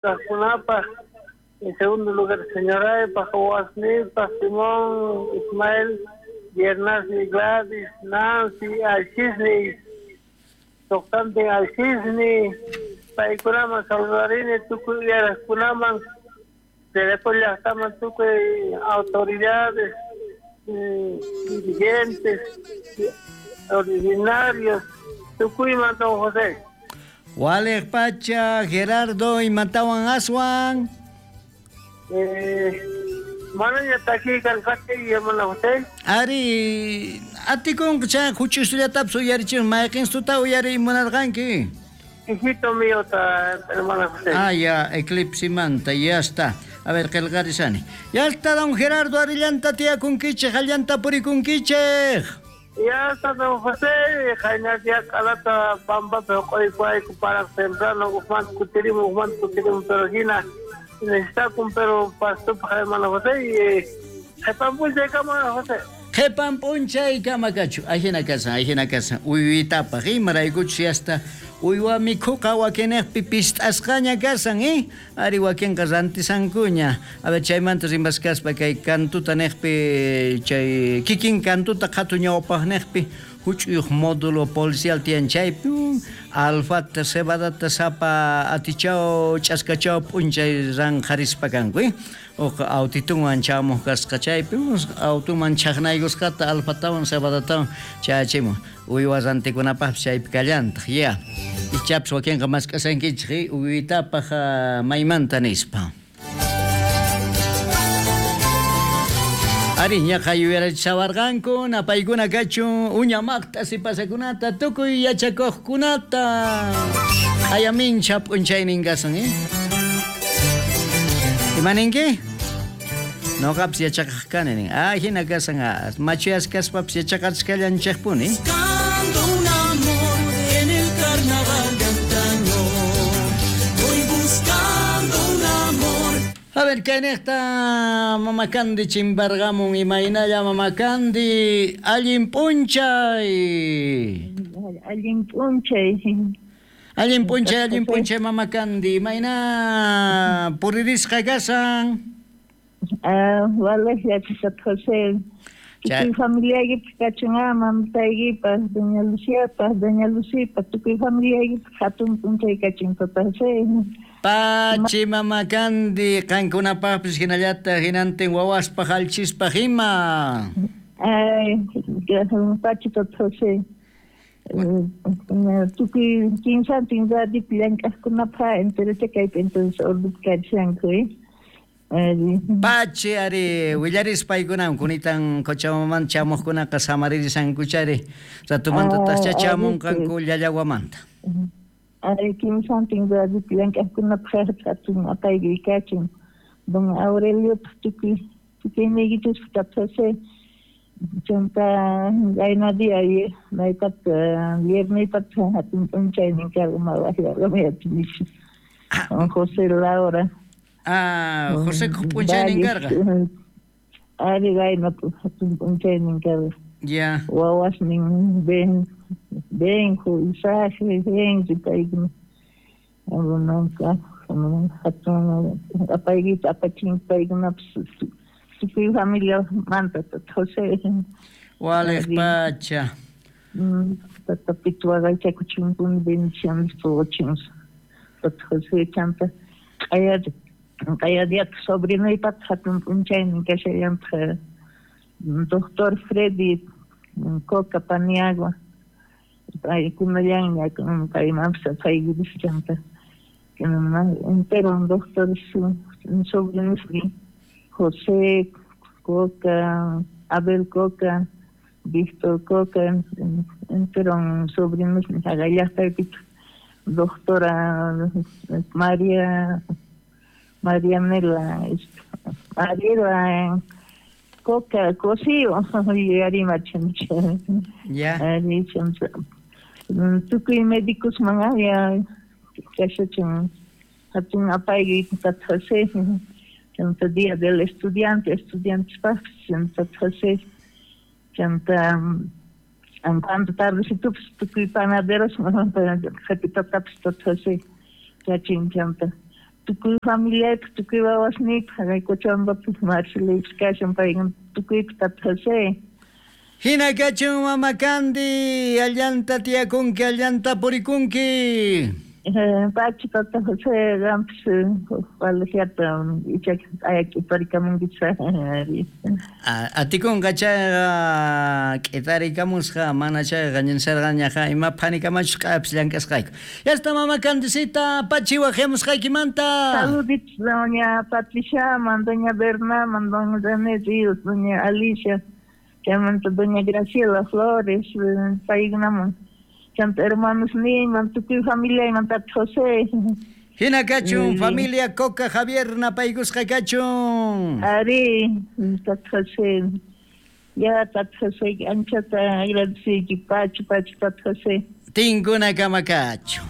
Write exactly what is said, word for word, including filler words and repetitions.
Kajkunapaj, en segundo lugar señoraypaj, wawasniypaj, Simón, Ismael, Biernasni, Gladys, Nancy, Alchisni, Tocante Alchisni, paykunaman saludarini, tukuy uyarajkunaman, Telecom llaqtaman tukuy autoridades, dirigentes, originarios, tukuyman don José. Walej pacha, Gerardo, imatawan aswan. Eh, manaña taki karqati, hermano José. Ari, atikunqa huch'uyllatapis uyarichun, mayqinstuta uyariy munarqanki? Hijito mío, ta, hermano José. Ah, ya, eclipse manta, ya está. A ver, qillqarisani. Ya está, don Gerardo, arillanta tiyakunkichej, allanta purikunkichej. Ya está, don José, qayna q'alata pampapi huq'uykuwayku para temprano ujmanta kutirimun, ujmanta kutirimun, pero hina necesitakun, pero pastupaj, hermano José, y qhipan p'unchaykama, José. Qhipan p'unchaykama kachu, ajina kasan, ajina kasan, uywitapaj, imaraykuchus yasta uywa mikhuqa wakinejpi pist'asqaña kasan, eh? Ari wakinqa rantisankuña. A ver, chaymanta rimaskaspa kay kantuta nejpi, chay kikin kantuta qhatu ñawpaqnejpi huch'uyuq módulo policial tiyan chaypi, alfata, cebadata sapa atichaw, ch'askachaw p'unchay ranqharispa kanku, eh? Uq autitunwan chamuq kasqa chaypi, autuman chaqnaykusqata alfatawan cebadatawan chayachimun. Uywa rantikunapaqpis chaypi kallantaq, ya. Ichapis wakinqa mask'asankichik, uywitapaq maymanta nispa. Ari, ñaqa yuyarichawarqanku, napaykuna kachun uña maqta sipasakunata, tukuy yachakuqkunata. Q'ayamincha p'unchaynin kasan, eh? Imaninki? Noqapis yachaqaq kani nin. Ah, hina kasan, machuyasqaspapis yachaqachkallanchikpuni. Buscando un amor en el carnaval de antaño. Voy buscando un amor. A ver, kaynejta Mama Candy chimbargamun, imaynalla Mama Candy, allin p'unchay. Allin p'unchay. Allin p'unchay, allin p'unchay Mama Candy, imayna puririsqa kasan? Ah, walej yachasat José. Tukuy familiaykipaq kachun mamitaykipaq, doña Luciapaq, doña Lucipaq, tukuy familiaykipaq hatun p'unchay kachun tata José. Pachi Mama Candy, qankunapaqpis hinallataq hinantin wawaspaq alchispaq ima. Ay, pachi tata José. Tukuy kinsantin radiopi llank'aqkunapaq enterocha kaypi entonces ordupi kachanku, eh? Pachi ari willarispa paykunawan kunitan Cochabamamanta chamuqkunaqa samaririsankuchari ratumantataqcha chamunqanku Llallawamanta. Ari kimsantin radiopi llank'aqkunapaq hatun apayki kachun don Aureliopaq tukuy tukuyniykichikpaq tata José. Chanta qayna día maytata vierneypata hatun p'unchaynin karqa mawaqyarqamuyachinichu don José Laura. Ah, José p'unchaynin karqa. Ari qayna hatun p'unchaynin karqa. Ya. Wawasnin Ben, Benjo, Isaac, Henry paykuna. Hatun apaykita apachin paykunapis tukuy familiamanta tata José. Walej pacha. Tata Pitu waqaychakuchunkuni bendiciones puquchun tata José chanta q'aya q'ayadiataq sobrinuypataq hatun p'unchaynin kashallantaq doctor Freddy Coca Paniagua paykunallanña paymanpis apaykuris chanta entero doctor sobrinosnin José Coca, Abel Coca, Víctor Coca, entero sobrinosnin haqallaqtaypitaq doctora María Marianela, Mariela Coca Cosío, yuyarimachancha. Ya. Tukuy médicosman ya kashachin hatun apayki tata José, chanta día del estudiante, estudiantespaqpis tata José, chanta cuando tardecitupis tukuy panaderos qhipitatapis tata José kachin chanta Tukuy familiaypaj, tukuy wawasniypaj, jaqay Cochabambapis Marcelipis kashan, paykuna tukuypaj tata José. Hina kachun mama Candy, allanta tiyakunki, allanta purikunki. Pachi tata José, qampis waliqllata icha q'aya k'iparikamunkichis. Atikunqa chayqa k'itarikamusqa, mana chayqa ñinsarqañaqa ima phanikamachus q'ayapis llank'asqayku. Yasta mama Candicita, pachi waqyamusqaykimanta. Saluditos doña Patriciaman, doña Bernaman, doña René Ríos, doña Alicia, chaymanta doña Graciela Flores, paykunaman. Chanta hermanos niyman, tukuy familiayman tata José. Hina kachun, familia Coca Javier napaykusqa kachun. Ari, tata José. Ya tata José, anchata agradeciyki, pachi, pachi tata José. Tinkuna kama kachu.